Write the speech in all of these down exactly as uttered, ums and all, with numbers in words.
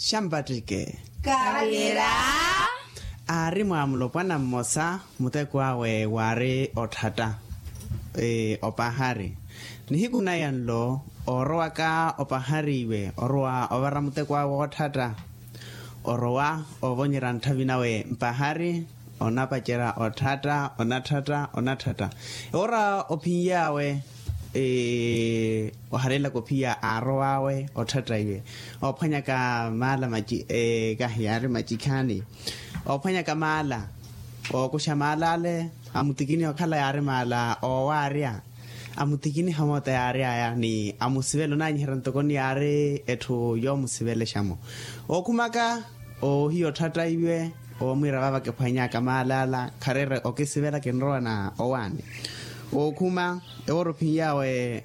Xampattike. Kavira. Aari mwa mulopwana mmosa, muteko awe waari otthatta opahari. Nihiku naya nlo, oorowaka opahari iwe orowa ovara muteko awe wootthatta. Orowa oovonyerya ntthavi nawe mpahari, onapacerya otthata, onatthata, onatthata. Ewoora ophinyawe, oharelaka ophiya aarowawe otthata iwe, oophwanyaka maala maci kahi yaari macikhaani. Oophwanyaka maala, ookuxa maala ale, amutikiniha okhala yaari maala oowaarya. Amutikiniha moota yaari aya ni amusivela onaanyiherya ntoko ni yaari etthu yoomusivelexa-mo. Ookhumaka, oohiya otthata iwe, oomwiira vaava kiphwanyaka maala ala khareera okisivela kinrowa na owaani. Ookhuma, ewoora ophinyawe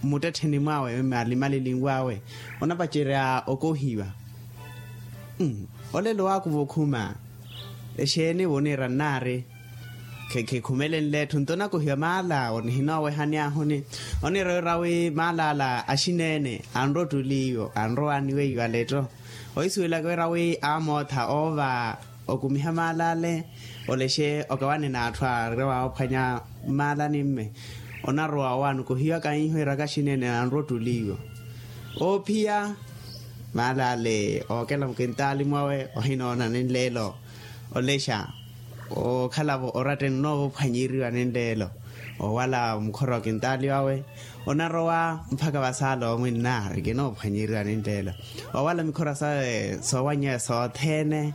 mmuttettheni mwawe malimalinwawe, onapacerya okohiwa. Olelo waakuva okhuma, exeeni vo oniira nnaari? Khikhumelenle etthu nto onakohiwa maala awo nihinooweha ni ahuni. Oniira wira wi maala ala axineene anrowa ottuli iwo anrowa aniweiwa aletto. Ohisuwelaka wira wi amootha oova okumiha maala ale, olexe okawane n'atthu aarowa oophwanya mmaala ni mme. Onarowa owaani okohiwa kahihiwiraka axineene anrowa ottuli iwo. Oophiya maala ale ookela mukintaali mwawe ohinoona ni nleelo. Olexa, ookhalavo oratteni onoovophwanyeriwa ni nleelo. Oowala mukhora wa kintaali wawe, onarowa mpakha vasaala omwinna ari kinoophwanyeriwa ni nleelo. Oowala mikhora sawe soowanyeya sothene.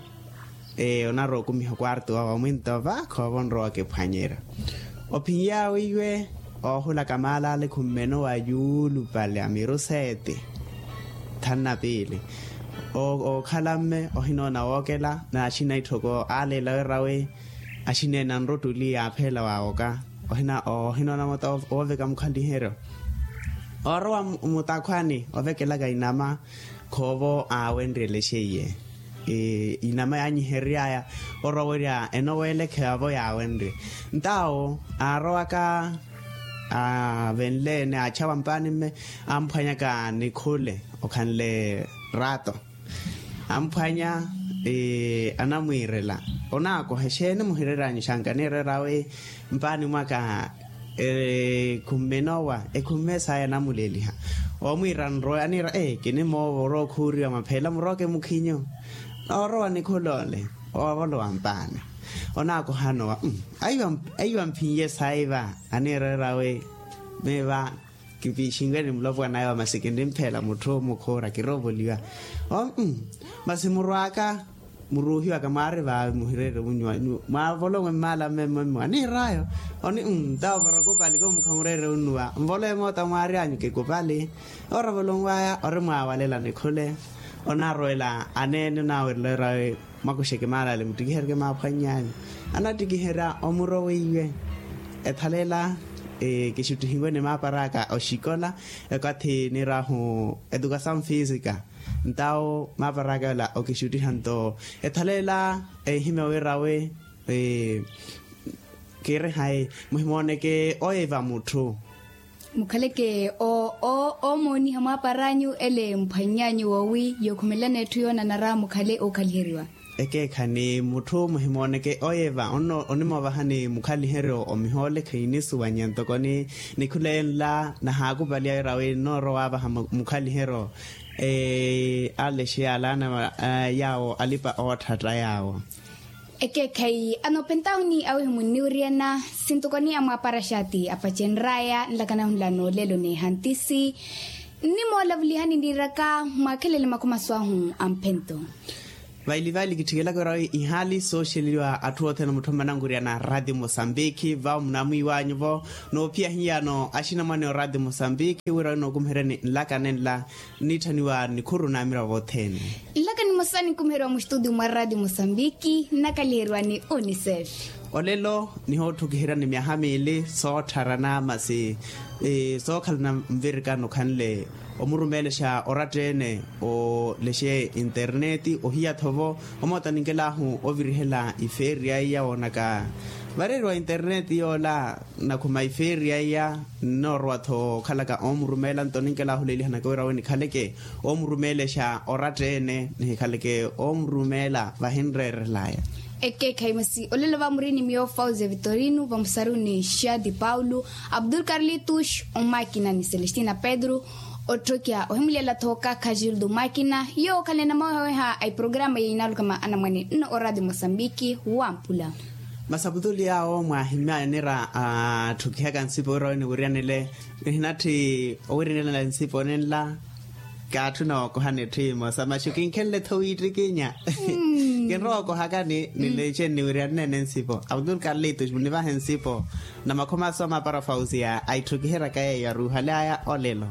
Onarowa okumiha okwartu wawe omwinto vaakha oova onrowa okiphwanyerya. Ophinyawe iwe, oohulaka maala ale khummenowa yuulupale a miru seeti. Thanna piili. Ookhala mme ohinoona wookela n'axina itthoko aaleela wira wi axineene anrottuli yaapheela waawoka. Ohinoona moota wooveka mukhaliheryo. Oorowa mutakhwani ovekelaka inama, khoovo aawenryelexe iye. Inama yaanyihereryaya orowerya enoweelekheya vo yaawenrye. Ntawo aarowaka aavenle-ene aachawa mpaani mme, amphwanyaka nikhule okhanle rato. Amphwanya, anamwiirela, onaakoha exeeni muhireeranyu xanka aniireera wi mpaani mwaka ekhumme enowa ekhumme saya anamuleeliha. Oomwiira nrowe aniira ee kinimoova orowa okhuuriwa mapheela murooke mukhinyu. Oorowa nikhul'ole oovolowa mpaani. Onaakoha anowa. Aiwa mphinye saiva aniireera wi miiva kipiixinwene mulopwana aiwa masi kinimphela mutthu mukhuura kiroovoliwa. Masi murw'aka muruuhiwaka mwaari vaavi muhireere unyuwa. Mwaavolonwe mmaala mmemmwe mmowa niir'ayo. Oni ntawo vara kupali ko mukhamureere unnuwa mvolowe moota mwaary'anyu kikupali. Oravolonw'aya ori mwaawalela nikhule. Onaarowela aneene onaawerela wira wi mwakuxeke maala ale muttikiheryeke maaphwany'anyu. Anattikiherya omuro weiwe. Ethaleela kixuttihiwe ni maapar'aka oxikola ekathi niir'ahu edukasawu fisika. Ntawo maapar'aka yola okixuttiha nto ethaleela ehimya wira wi kiiri hayi muhimooneke oye va mutthu. Mukhaleke oomooniha mwaapar'anyu ele mphwany'anyu woowi yookhumelelana etthu yoonanara mukhale ookhaliheriwa. Ekeekha ni mutthu muhimooneke oye va onimoovahani mukhaliheryo omihoole khinisuwanya ntoko ni nikhule nla nahaakupaliya wira wi nnoorowa waavaha mukhaliheryo. Alexe alaana yaawo alipa ootthata yaawo. Ekeekhayi anoopentawuni awihi munniwiriyana sintokoni amwaapara xaati apacenr'aya nlakana hunla noolelo n'ehantisi. Nnimoolavulihani nniiraka mwaakhelele makhumaso ahu amphento. Vaili vaili kitthikelaka wira wi ihaali sooxeliwa atthu othene mutthu mmanankuriyana rati mosambiki vawo munamwiiwanyu-vo. Noophiya hiyano axinamwane orati mosambiki wira wi nookumiheryani nlakane nla nnitthaniwa nikhuru n'amiravo othene. Nlaka nimosa ninkumiheriwa muxitudio mwa rati mosambiki nnakaliheriwa ni unicef. Olelo nihoottukiheryani myaha miili soottharana masi sookhalana nvirikano khanle omurumeelexa oratta-ene olexe interneti ohiya-tho vo omoota ninkel'ahu ovirihela ifeeri yaiya woonaka Vareeriwa interneti yoola, nakhuma ifeeri yaiya, nnoorowa-tho okhalaka oomurumeela nto ninkelahuleelihanaka wira awe nikhaleke oomurumeelexa oratta-ene nihikhaleke oomurumeela vahinreerelaya. Ekeekhayi masi olelo vamuri ni miyo fauze vitorino vamusaruni xadi paulo, abdul carlitus, omakina ni celestina pedro, otthokya ohimulela-tho kakhajildo makina. Yoowo okhalene mawehaweha a iprograma yeinalukama anamwane nno oradio mosambiki wampula. Masaputuli awo mwahimya enira atthukihaka nsipo wira weniwiryanile, nihinatthi owirinela nsipo ninla. Kaatthuna okoha nitthi imosa maxu kinkhenle-tho wiittikinya. Kinrowa okohakani nileece nniwiryanene nsipo abdul carlitus munivahe nsipo. Na makhoma aso amapara fausia aitthukihiraka yeeyo aruuhalaya olelo.